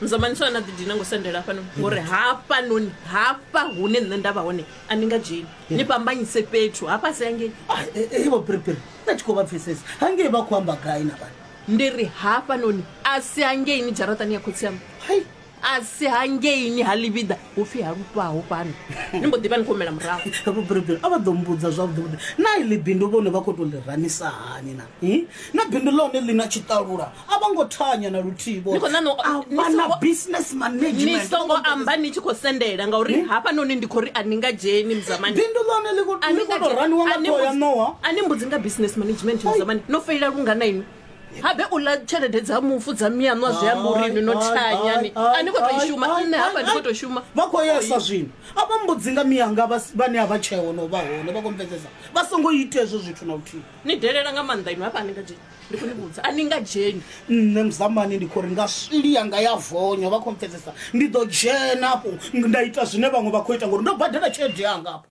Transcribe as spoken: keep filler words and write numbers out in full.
Mzamani swa na ḓidina ngo sendela hafhanoni, ngori hafhanoni hafha hune nṋe nda vha hone a ni nga dzheni, ni fhambanyise fhethu hafha si hangei. Vho Piripiri, nda tshi khou vha pfesesa hangei vha khou amba gai na vhana? Ndi ri hafhanoni a si hangeini dzharaṱani ya khotsi aṋu, Hai. a si hangeini ha ḽivhiḓa hu pfhi ha lufhaho fhano, ni mbo ḓi vha ni khou humela murahu. Vho Piripiri a vha ḓo mbudza zwavhuḓi vhuḓi na iḽi bindu vhone vha khou tou ḽi ranisa hani na? Hi? Na bindu ḽone ḽi na tshiṱalula, a vha ngo thanya na luthihi vhone. Ni khou ṋaṋa u- A ni vha na songo- business ni management. songo amba ni tshi khou sendela, ngauri hafhanoni ndi khou ri a ni nga dzheni muzamani. Bindu ḽone ḽi khou A ni ḽi nga khou tou dzheni. raniwa nga A ni ṱhoho ya mbudzi- ṋowa. A ni mbudzi nga business management muzamani, no feila lungana inwi? Habe u ḽa tshelede dza mufu dza miaṋu a zwi amba uri inwi no thanyani, a ni khou tou i shuma. Nṋe hafha ndi khou tou shuma. Vha khou yesa zwino, a vha mbudzi nga miyanga vha- vhane a vha tsheo no vha hone, vha khou mpfesesa, vha songo ita hezwo zwithu na luthihi. Ni delela nga maanḓa inwi, hafha a ni nga dzheni, ndi khou ni vhudza, a ni nga dzheni. Nṋe muzamani ndi khou ri nga swili yanga ya vonyo, vha khou mpfesesa, ndi ḓo dzhena afho nda ita zwine vhaṅwe vha khou ita, ngori ndo badela tshelede yanga afho.